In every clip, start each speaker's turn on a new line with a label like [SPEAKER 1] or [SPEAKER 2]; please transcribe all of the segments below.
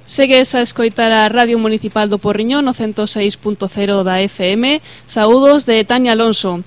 [SPEAKER 1] Segues a escoitar a Radio Municipal do Porriñón no 106.0 da FM. Saúdos de Tania Alonso.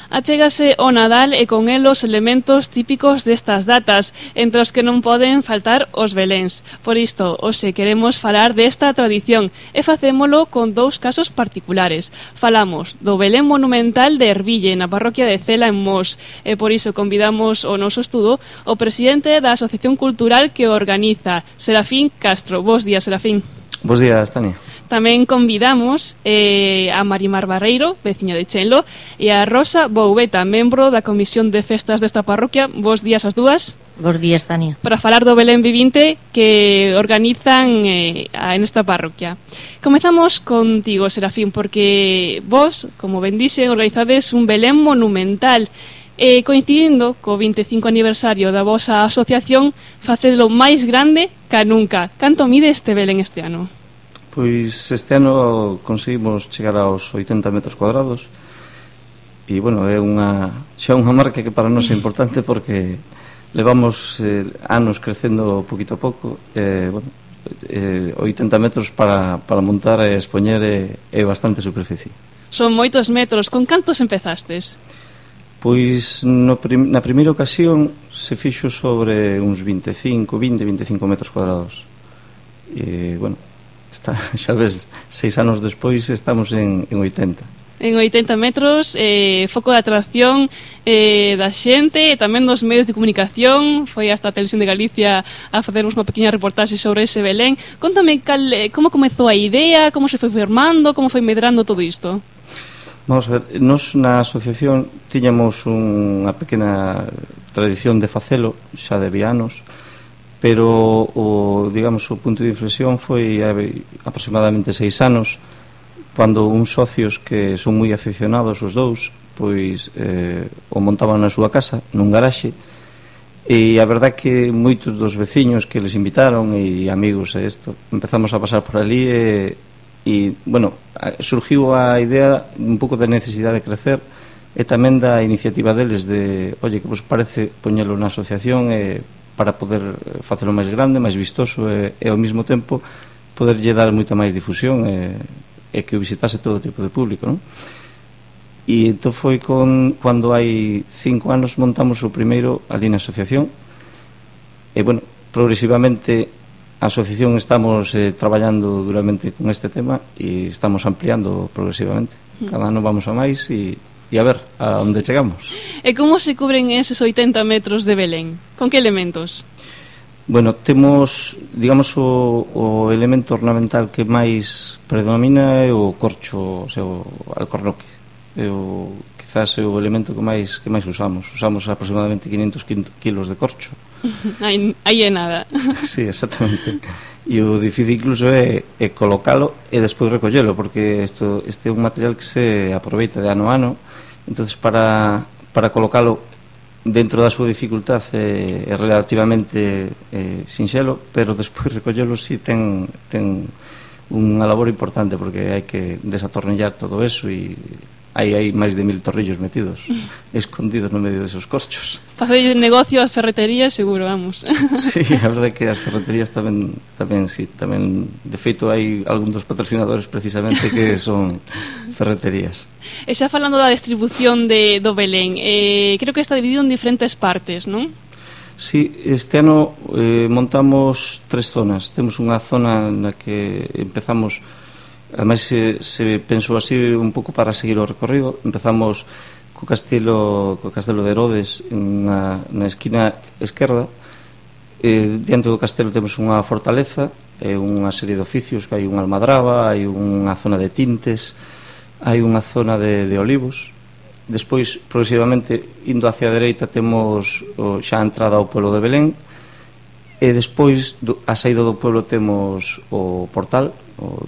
[SPEAKER 1] Achégase o Nadal e con el os elementos típicos destas datas, entre os que non poden faltar os beléns. Por isto, hoxe queremos falar desta tradición e facémolo con dous casos particulares. Falamos do Belén monumental de Erville, na parroquia de Cela en Mos, e por iso convidamos ao noso estudo o presidente da Asociación Cultural que organiza, Serafín Castro. Bos días, Serafín.
[SPEAKER 2] Bos días, Tania.
[SPEAKER 1] Tamén convidamos a Marimar Barreiro, veciña de Chenlo, e a Rosa Boubeta, membro da Comisión de Festas desta parroquia. Bos días as dúas.
[SPEAKER 3] Bos días, Tania.
[SPEAKER 1] Para falar do Belén Vivinte que organizan nesta parroquia. Comezamos contigo, Serafín, porque vos, como ben dixen, organizades un Belén monumental. Coincidindo co 25 aniversario da vosa asociación, facedelo máis grande ca nunca. Canto mide este Belén este ano?
[SPEAKER 2] Pois este ano conseguimos chegar aos 80 metros cuadrados e, bueno, é xa unha marca que para nós é importante porque levamos anos crecendo poquito a pouco. 80 metros para montar e expoñer é bastante superficie.
[SPEAKER 1] Son moitos metros. Con cantos empezastes?
[SPEAKER 2] Pois na primeira ocasión se fixo sobre uns 25 metros cuadrados e, bueno, xa ves, 6 anos despois estamos en 80.
[SPEAKER 1] En 80 metros, foco de atracción da xente e tamén dos medios de comunicación. Foi hasta a Televisión de Galicia a facernos unha pequena reportaxe sobre ese Belén. Contame como comezou a idea, como se foi formando, como foi medrando todo isto.
[SPEAKER 2] Vamos a ver, nós na asociación tiñamos unha pequena tradición de facelo xa de anos, pero o punto de inflexión foi aproximadamente 6 anos, cando uns socios que son moi aficionados os dous, pois o montaban na súa casa, nun garaxe, e a verdad que moitos dos veciños que les invitaron e amigos e isto, empezamos a pasar por ali e bueno, surgiu a idea un pouco da necesidade de crecer e tamén da iniciativa deles de, oye, que vos parece poñelo na asociación para poder facelo máis grande, máis vistoso e ao mesmo tempo poderlle dar moita máis difusión e que o visitase todo tipo de público, non? E entón foi cando hai 5 anos montamos o primeiro ali na asociación e, bueno, progresivamente a asociación estamos traballando duramente con este tema e estamos ampliando progresivamente. Cada ano vamos a máis e a ver a onde chegamos.
[SPEAKER 1] E como se cubren eses 80 metros de Belén? Con que elementos?
[SPEAKER 2] Bueno, temos, digamos, o elemento ornamental que máis predomina é o corcho, o seu alcornoque. Quizás é o elemento que máis usamos. Usamos aproximadamente 500 kilos de corcho.
[SPEAKER 1] Aí é nada.
[SPEAKER 2] Sí, exactamente. E o difícil incluso é colocalo e despois recollelo, porque este é un material que se aproveita de ano a ano. Entonces para colocalo dentro da súa dificultad é relativamente sinxelo, pero despois recollelo si ten unha labor importante, porque hai que desatornillar todo eso e hai máis de 1000 torrillos metidos escondidos no medio desos corchos.
[SPEAKER 1] Facer negocio ás ferreterías seguro, vamos.
[SPEAKER 2] Sí, a verdade é que as ferreterías tamén, de feito hai algún dos patrocinadores precisamente que son ferreterías.
[SPEAKER 1] E xa falando da distribución do Belén, creo que está dividido en diferentes partes, non?
[SPEAKER 2] Sí, este ano montamos 3 zonas. Temos unha zona na que empezamos, ademais se pensou así un pouco para seguir o recorrido. Empezamos co castelo de Herodes na esquina esquerda. Diante do castelo temos unha fortaleza e unha serie de oficios, que hai unha almadraba, hai unha zona de tintes, hai unha zona de olivos. Despois, progresivamente, indo hacia a dereita, temos xa a entrada ao pueblo de Belén, e despois a saída do pueblo temos o portal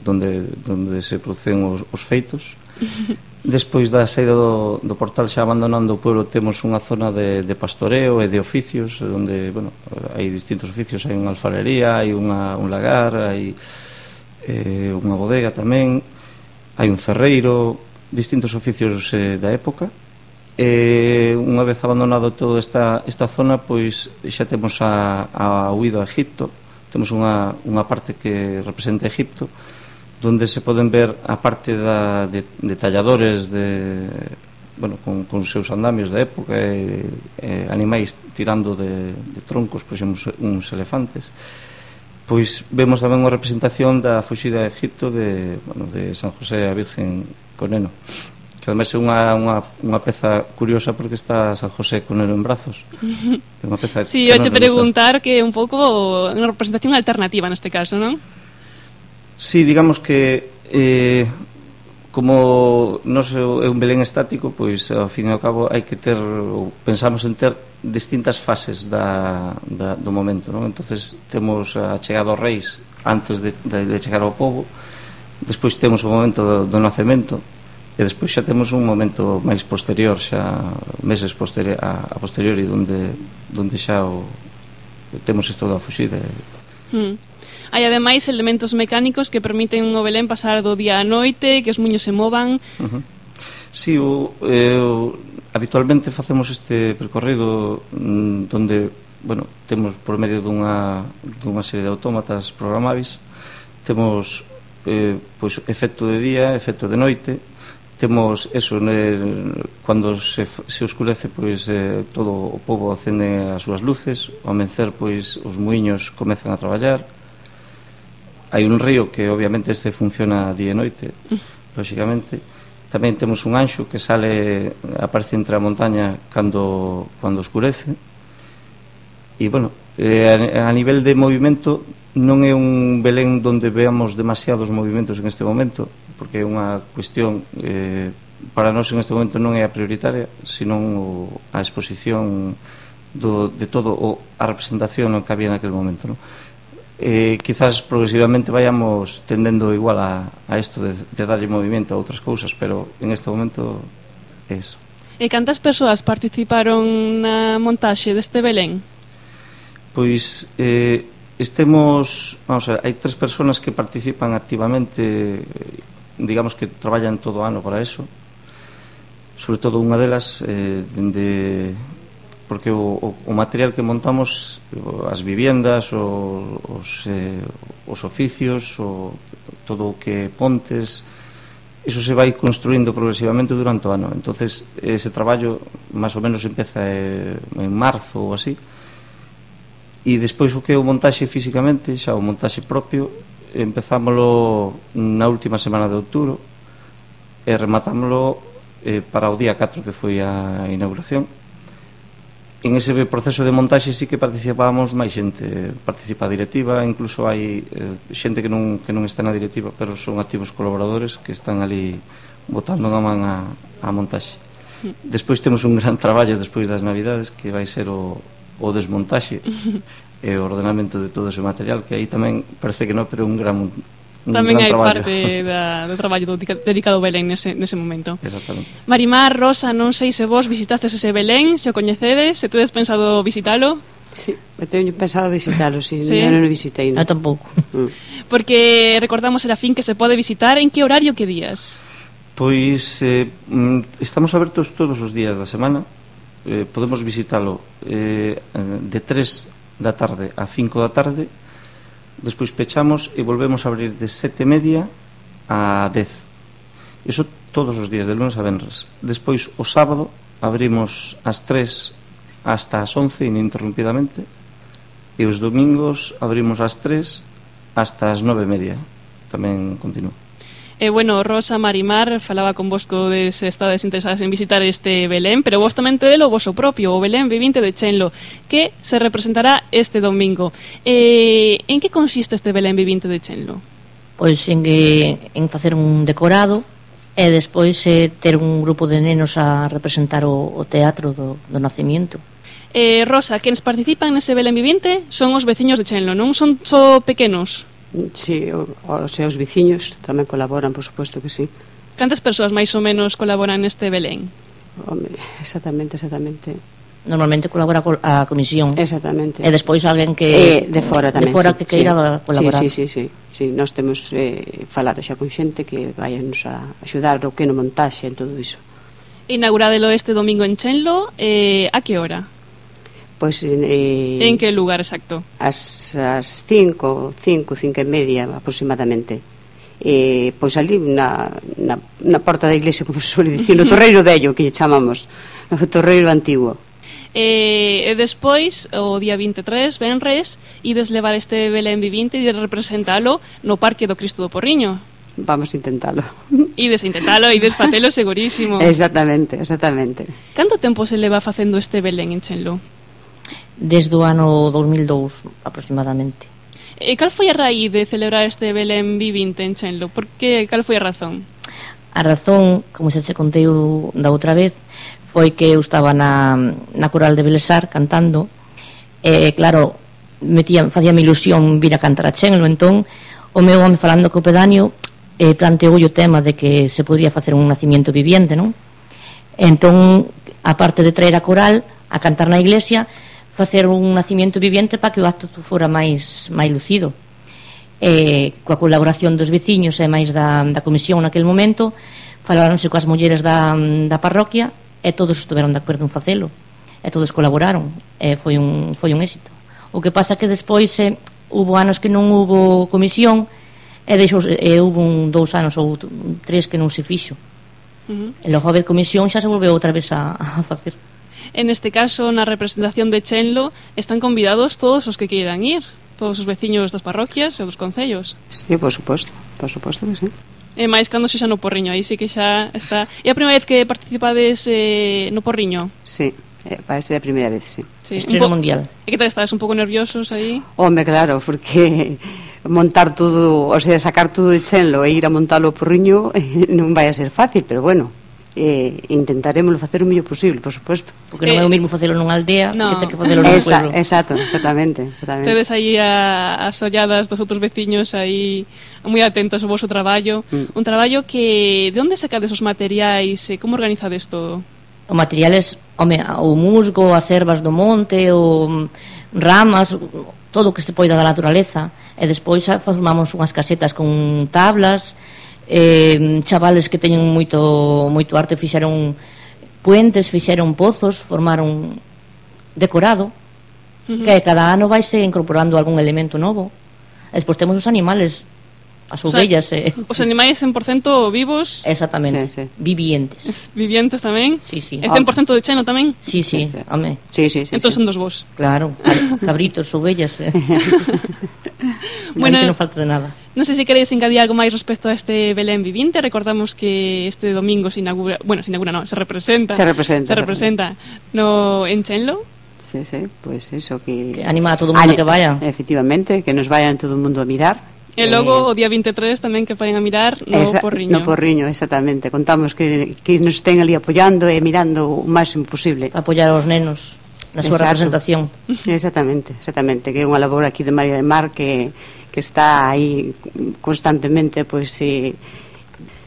[SPEAKER 2] donde se producen os feitos. Despois da saída do portal, xa abandonando o pueblo, temos unha zona de pastoreo e de oficios, onde, bueno, hai distintos oficios. Hai unha alfarería, hai un lagar, hai unha bodega tamén, hai un ferreiro, distintos oficios da época. Unha vez abandonado toda esta zona, pois xa temos a huida a Egipto, temos unha parte que representa Egipto, donde se poden ver a parte de talladores con seus andamios da época, animais tirando de troncos, por exemplo, uns elefantes. Pois vemos tamén unha representación da fuxida a Egipto de San José a Virgen co neno, que ademais é unha peza curiosa porque está San José con neno en brazos. É unha peza
[SPEAKER 1] sí, eu te preguntar que é un pouco unha representación alternativa neste caso, non?
[SPEAKER 2] Sí, digamos que como non é un Belén estático, pois ao fin e ao cabo hai que ter, pensamos en ter distintas fases do momento, non? Entonces temos a chegada aos reis antes de chegar ao pobo, despois temos o momento do nacemento, e despois xa temos un momento máis posterior, xa meses a posteriori, onde xa temos isto da fuxida.
[SPEAKER 1] Hai ademais elementos mecánicos que permiten o Belén pasar do día á noite, que os muños se movan.
[SPEAKER 2] Sí, habitualmente facemos este percorrido donde, temos por medio dunha serie de autómatas programáveis, temos efecto de día, efecto de noite. Temos eso, cando se oscurece, pois todo o pobo acende as súas luces, ao amencer, pois os muiños comezan a traballar. Hai un río que obviamente este funciona día e noite, lógicamente. Tamén temos un anxo que aparece entre a montaña cando oscurece. E, a nivel de movimento, non é un Belén donde veamos demasiados movimentos en este momento, porque é unha cuestión para nós en este momento non é a prioritaria, senón a exposición de todo a representación que había naquele momento, non? Quizás progresivamente vayamos tendendo igual a isto de darlle movimento a outras cousas, pero en este momento é eso.
[SPEAKER 1] E cantas persoas participaron na montaxe deste Belén?
[SPEAKER 2] Pois vamos a ver, hai 3 persoas que participan activamente, digamos que traballan todo o ano para eso, sobre todo unha delas porque o material que montamos, as viviendas, os oficios, todo o que pontes, iso se vai construindo progresivamente durante o ano. Entonces ese traballo máis ou menos empeza en marzo ou así, e despois o que é o montaxe físicamente, xa o montaxe propio, empezámolo na última semana de outubro e rematámolo para o día 4, que foi a inauguración. En ese proceso de montaxe sí que participábamos máis xente, participa a directiva, incluso hai xente que non está na directiva, pero son activos colaboradores que están ali botando a man a montaxe. Despois temos un gran traballo despois das Navidades, que vai ser o desmontaxe e o ordenamento de todo ese material, que aí tamén parece que non, pero un gran
[SPEAKER 1] tamén hai parte do traballo dedicado ao Belén nese momento.
[SPEAKER 2] Exactamente.
[SPEAKER 1] Marimar, Rosa, non sei se vos visitastes ese Belén, se o coñecedes, se tedes pensado visitalo?
[SPEAKER 3] Sí, eu teño pensado visitalo, sí. Eu non o visitei, non?
[SPEAKER 4] Eu tampouco.
[SPEAKER 1] Porque recordamos era fin que se pode visitar, en que horario, que días?
[SPEAKER 2] Pois estamos abertos todos os días da semana. Podemos visitalo de 3 da tarde a 5 da tarde, despois pechamos e volvemos a abrir de 7:30 a 10. Iso todos os días, de lunes a venres. Despois o sábado abrimos ás 3 hasta as 11 ininterrumpidamente, e os domingos abrimos ás 3 hasta as 9:30. Tamén continúa.
[SPEAKER 1] Rosa, Marimar, falaba convosco de se estades interesadas en visitar este Belén, pero vos tamén tedelo o voso propio, o Belén vivinte de Chenlo, que se representará este domingo. En que consiste este Belén vivinte de Chenlo?
[SPEAKER 4] Pois en facer un decorado e despois ter un grupo de nenos a representar o teatro do nacimiento.
[SPEAKER 1] Rosa, quenes participan nese Belén vivinte son os veciños de Chenlo, non son só pequenos?
[SPEAKER 3] Sí, os seus veciños tamén colaboran, por suposto que sí.
[SPEAKER 1] Cantas persoas máis ou menos colaboran neste Belén?
[SPEAKER 3] Home, exactamente.
[SPEAKER 4] Normalmente colabora a comisión.
[SPEAKER 3] Exactamente.
[SPEAKER 4] E despois alguén que
[SPEAKER 3] de fora tamén,
[SPEAKER 4] de fora que queira colaborar.
[SPEAKER 3] Sí, nós temos falado xa con xente que vayanos a axudar o que no montaxe en todo iso.
[SPEAKER 1] Inauguradelo este domingo en Chenlo, a que hora?
[SPEAKER 3] Pois
[SPEAKER 1] En que lugar exacto?
[SPEAKER 3] As 5 e media aproximadamente. Pois ali na porta da iglesia, como se suele dicir, no Torreiro Vello, que lle chamamos, o Torreiro Antigo.
[SPEAKER 1] E despois, o día 23, venres, ides levar este Belén vivinte e representalo no Parque do Cristo do Porriño.
[SPEAKER 3] Vamos a intentalo.
[SPEAKER 1] Ides a intentalo, ides facelo segurísimo.
[SPEAKER 3] Exactamente.
[SPEAKER 1] Canto tempo se leva facendo este Belén en Chenlo?
[SPEAKER 4] Desde o ano 2002 aproximadamente.
[SPEAKER 1] E cal foi a raíz de celebrar este Belén vivinte en Chenlo? Cal foi a razón?
[SPEAKER 4] A razón, como xa te contei da outra vez, foi que eu estaba na coral de Belesar cantando, e claro, facíame ilusión vir a cantar a Chenlo. Entón o meu home, falando co pedáneo, planteou o tema de que se podría facer un nacimiento viviente, non? Entón, aparte de traer a coral a cantar na iglesia, facer un nacimiento viviente para que o acto fora máis lucido. Coa colaboración dos veciños e máis da comisión naquele momento, falaronse coas mulleres da parroquia e todos estuveron de acordo en facelo, e todos colaboraron, e foi un éxito. O que pasa que despois hubo anos que non hubo comisión, e hubo 2 anos ou 3 que non se fixo. E logo a vez comisión xa se volveu outra vez a facer.
[SPEAKER 1] En este caso, na representación de Chenlo, están convidados todos os que queiran ir, todos os veciños das parroquias e dos concellos.
[SPEAKER 3] Sí, por suposto que sí.
[SPEAKER 1] E máis cando xa no Porriño, aí sí que xa está. É a primeira vez que participades no Porriño?
[SPEAKER 3] Sí, parece a primeira vez, sí.
[SPEAKER 4] Estreno mundial.
[SPEAKER 1] E que tal estades, un pouco nerviosos aí?
[SPEAKER 3] Home, claro, porque montar todo, o sea, sacar todo de Chenlo e ir a montalo ao Porriño non vai a ser fácil, pero bueno, intentaremos facer o mellor posible, por suposto.
[SPEAKER 4] Porque non é o mesmo facelo nunha aldea que ter que facelo nun pueblo.
[SPEAKER 3] Exactamente.
[SPEAKER 1] Tedes aí as olladas dos outros veciños aí moi atentos ao vosso traballo. Un traballo que... De onde sacades os materiais? Como organizades todo?
[SPEAKER 4] O materiales, o musgo, as ervas do monte, o ramas, todo o que se poida da naturaleza. E despois formamos unhas casetas con tablas, chavales que teñen moito arte fixeron puentes, fixeron pozos, formaron decorado, que cada ano vaise incorporando algún elemento novo. E despois temos os animales, as ovellas,
[SPEAKER 1] os animais 100% vivos.
[SPEAKER 4] Exactamente, sí.
[SPEAKER 1] Vivientes tamén.
[SPEAKER 4] Sí.
[SPEAKER 1] E 100% de Cheno tamén.
[SPEAKER 4] Sí, home.
[SPEAKER 3] Sí.
[SPEAKER 1] Entón son dos vos.
[SPEAKER 4] Claro, cabritos, ovellas.
[SPEAKER 1] Bueno,
[SPEAKER 4] que non falta de nada.
[SPEAKER 1] Non sei se queréis engadir algo máis respecto a este Belén vivinte. Recordamos que este domingo se representa en Chenlo.
[SPEAKER 3] Sí, pues eso, que
[SPEAKER 4] anima a todo o mundo que vaya.
[SPEAKER 3] Efectivamente, que nos vayan todo o mundo a mirar.
[SPEAKER 1] E logo o día 23 tamén que vayan a mirar no Porriño.
[SPEAKER 3] No Porriño, exactamente. Contamos que nos estén ali apoiando e mirando o máximo posible.
[SPEAKER 4] Apoiar aos nenos na súa representación.
[SPEAKER 3] Exactamente, que é unha labor aquí de María de Mar que está aí constantemente pois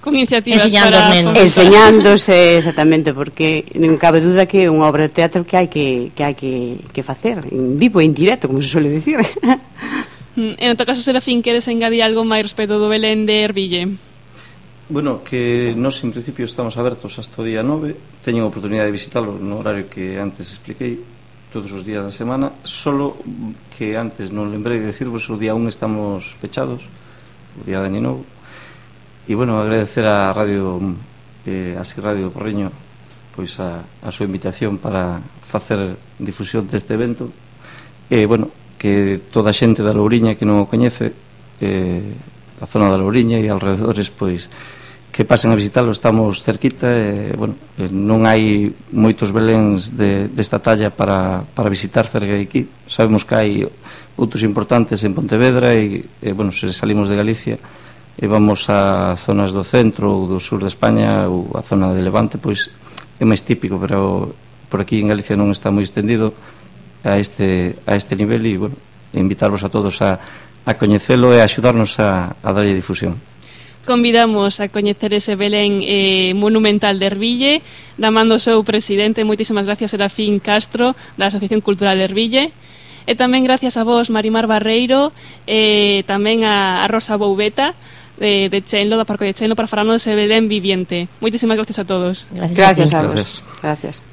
[SPEAKER 1] con iniciativas
[SPEAKER 3] enseñándose, exactamente, porque non cabe duda que é unha obra de teatro que hai que facer en vivo e en directo, como se suele dicir.
[SPEAKER 1] En outro caso, Serafín, queres engadir algo máis respecto do Belén de Erville?
[SPEAKER 2] Bueno, que nós en principio estamos abertos hasta o día 9. Teñen a oportunidade de visitarlo no horario que antes expliquei, todos os días da semana, solo que antes non lembrei de decirvos, o día 1 estamos pechados, o día de Ano Novo. E bueno, agradecer a Radio do Porriño pois a súa invitación para facer difusión deste evento. E bueno, que toda a xente da Louriña que non o coñece, da zona da Louriña e alrededores, pois que pasen a visitalo. Estamos cerquita e, bueno, non hai moitos beléns desta talla para visitar cerca de aquí. Sabemos que hai outros importantes en Pontevedra e bueno, se salimos de Galicia e vamos a zonas do centro ou do sur de España ou a zona de Levante, pois é máis típico, pero por aquí en Galicia non está moi extendido a este nivel e, bueno, invitarvos a todos a coñecelo e a axudarnos a darlle difusión.
[SPEAKER 1] Convidamos a coñecer ese Belén monumental de Erville, da man do seu presidente. Moitísimas gracias, Serafín Castro, da Asociación Cultural de Erville, e tamén gracias a vos, Marimar Barreiro, e tamén a Rosa Boubeta de Chenlo, da Parque de Chenlo, para falarnos dese Belén viviente. Moitísimas gracias a todos.
[SPEAKER 3] Gracias a vos. Gracias.